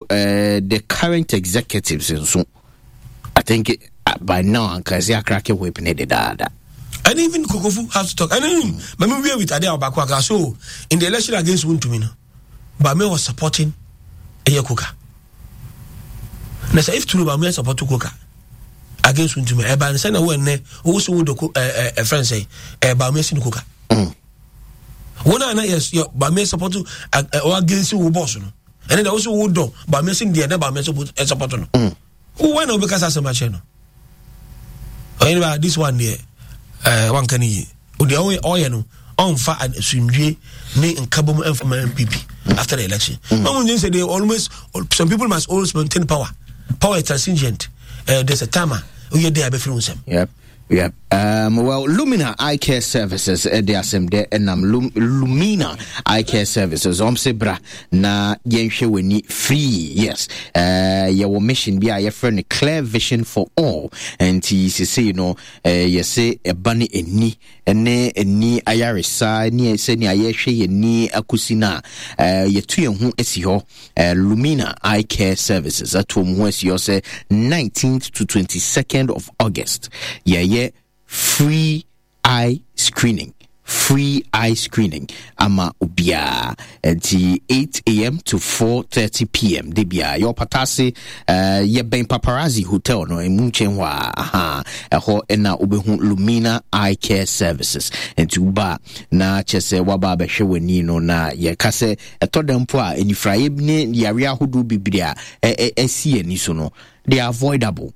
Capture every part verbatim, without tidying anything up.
uh, the current executives nso, I think uh, by now anka ɛsɛ acrack whip ne dedaada. And even Kokofu has to talk. And even mm. we with Ade Abakwaka. So in the election against Wontumi no, Bame was supporting Eye Koka. Now, so if true Bame support Koka against Wontumi, Eba and send away ne also would a friend say, Bame sin Koka. Mm. One and yes, yeah, Bame support or against who boss no. And then also would do Bame sin the Bame support no. Mm. Who why no because as a match no. Anyway, this one there, uh, one can ye. Odi ɔyɛ no ɔnfa asundue ne nkabom ɛnfa ma N P P after the election. Mm. No one say they always, some people must always maintain power. Power is transient. Uh, there's a timer. Oyɛ de abɛfiri nsɛm. Yep. Yep. Um, well, Lumina Eye Care Services, eh, de asɛm dɛ ɛnam Lum, Lumina Eye Care Services, ɔm sɛ bra na yɛnhwɛ w'ani free. Yes. Uh, yɛwɔ mission bi a yɛfrɛ no Clear Vision for All. Nti sesei no, uh, yɛse ɛba ne ani ne ani ayaresa ne sɛnea yɛhwɛ yɛn ani akosi no a, uh, yɛtu yɛn ho asi hɔ. uh, Lumina Eye Care Services ato wɔn ho asi hɔ sɛ nineteenth to twenty-second of August yɛyɛ free eye screening, free eye screening ama obiara. Nti eight a m to four thirty p m de bia yɛwɔ Patase, uh, yɛbɛn Paparazzi Hotel no ɛmu nkyɛn hɔ a, aha, ɛhɔ ɛna wobɛhu Lumina Eye Care Services. Nti woba a, na kyɛ sɛ woaba abɛhwɛ w'ani no, na yɛka sɛ ɛtɔ da mpo a, anifraeɛ ne yareɛ ahodoɔ bebree a ɛsi ani so no, they are avoidable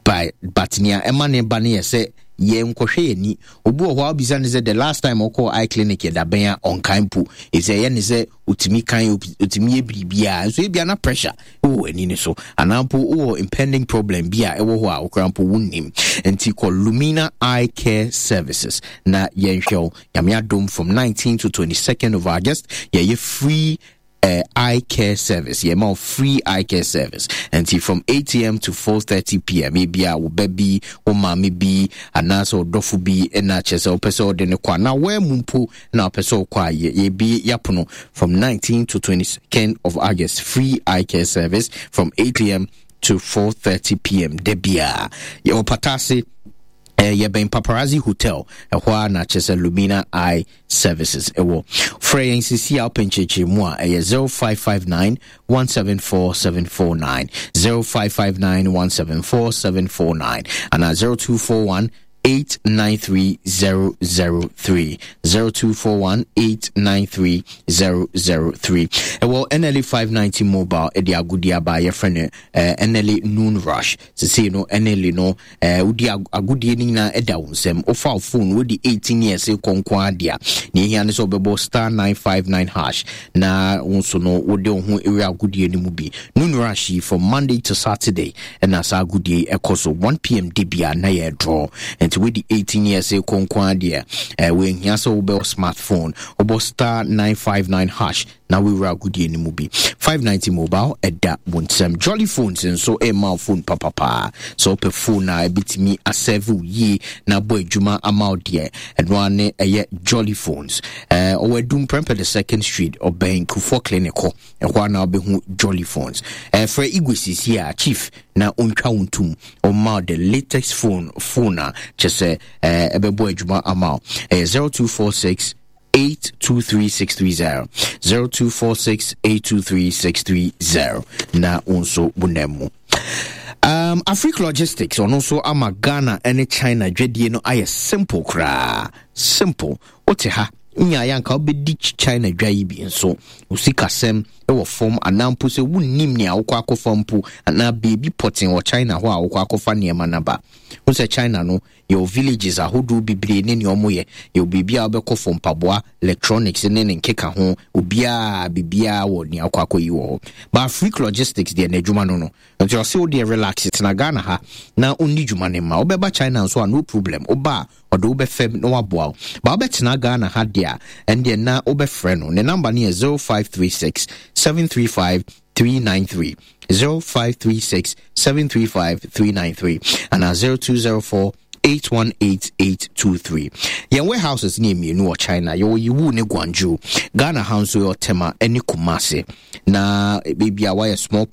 by, but nea ɛma ne ba no yɛ sɛ yɛnkɔhwɛ yɛn ani. Obi wɔ hɔ a, wobisa ne sɛ the last time ɔkɔɔ eye clinic yɛ dabɛn a, ɔnkan mpo. Ɛsɛ ɛyɛ ne sɛ ɔtumi kan, ɔtumi yɛ biribiaa, nso ebia na pressure wɔ ani no so, anaa mpo wowɔ impending problem bi a ɛwɔ hɔ a wokora mpo wonnim. Nti kɔ Lumina Eye Care Services na yɛnhwɛ wo. Nyame adom, from nineteen to twenty-second of August yɛyɛ free uh, eye care service. Yɛma wo free eye care service. Nti from eight a m to four thirty p m. Ebia wo ba bi, wo maame bi, anaasɛ ɔdɔfo bi ɛna kyerɛ sɛ wopɛ sɛ wode ne kɔ, anaa woamu mpo na wopɛ sɛ wokɔ a, yɛbi yɛapono from nineteen to twenty-second of August, free eye care service from eight a m to four thirty p m. Da biara yɛwɔ Patase, eh, yɛbɛn Paparazzi Hotel ɛhɔ a, na kyerɛ sɛ Lumina Eye Services ɛwɔ. Frɛ yɛn sisi a wopɛ nkyerɛkyerɛmu a, ɛyɛ zero five five nine one seven four seven four nine, zero five five nine one seven four seven four nine, anaa zero two four one eight nine three zero zero three, zero two four one eight nine three zero zero three. Ɛwɔ N L A five ninety Mobile ɛde agodie aba a yɛfrɛ no eh, N L A Noon Rush. Sesei no N L A no, eh, wodi agodie no nyinaa ɛda wo nsɛm. Wofa wo phone, wodi eighteen years kɔ nko adeɛ a, nea ɛhia ne sɛ wobɛbɔ star nine five nine hash na wo nso no wode wo ho ɛwura agodie no mu bi. Noon Rush yi, from Monday to Saturday ɛna saa agodie yi ɛkɔ so. one p m de bia na yɛ draw. Nti wodi eighteen years kɔ nko adeɛ, eh, wɔahia sɛ wobɛwɔ smartphone. Wobɔ star nine five nine hash na wowura agodie no mu bi. five ninety Mobile ɛda wo nsɛm. Jolly Phones nso ɛma wo phone papapaa. Sɛ wopɛ phone a ɛbɛtumi aserve wo yie na abɔ adwuma ama wo deɛ, ɛno ara ne ɛyɛ Jolly Phones. Ɔwɔ Adum Prɛmpɛ the Second Street, ɔbɛn Kufuor Clinic hɔ. Ɛhɔ a na wobɛhu Jolly Phones. Ɛfrɛ Igwe sisi a, chief, na ɔntwa wo ntom, ɔma the latest phone phone a kyɛ sɛ ɛbɛbɔ adwuma ama wo. Ɛyɛ zero two four six eight two three six three zero, zero two four six eight two three six three zero, na wo nso wonam mu. um, Afric Logistics ɔno nso ama Ghana ne China dwadie no ayɛ simple koraa. Simple. Wote ha nyaeɛ anka wobɛdi China dwa yi bi nso, wo sikasɛm wɔ fam, anaa mpo sɛ wonnim nea wokɔ akɔfa mpo, anaa beebi pɔten wɔ China hɔ a wokɔ akɔfa nneɛma no aba wo sɛ China no yɛwɔ villages ahodoɔ bebree ne nea ɔmo yɛ. Yɛwɔ biribi a wobɛkɔ fo mpaboa, electronics ne ne nkeka ho, obiara biribiara wɔ nea wokɔ akɔyi wɔ hɔ. But Afric Logistics deɛ, n'adwuma no no nti ɔse wo deɛ relax, tena Ghana ha na ɔnni dwuma ne ma wobɛba China nso a, no problem. Woba a, ɔde wobɛfam na waboa wo ba. Wobɛtena Ghana ha deɛ a, ɛndeɛ na wobɛfrɛ no. Ne number no yɛ zero five three six seven three five three nine three, zero five three six seven three five three nine three, anaa zero two zero four eight one eight eight two three. Yɛn warehouses ne mmienu wɔ China, yɛwɔ Yiwu ne Guangzhou. Ghana ha nso yɛwɔ Tema ne Kumase, na baabi a wayɛ small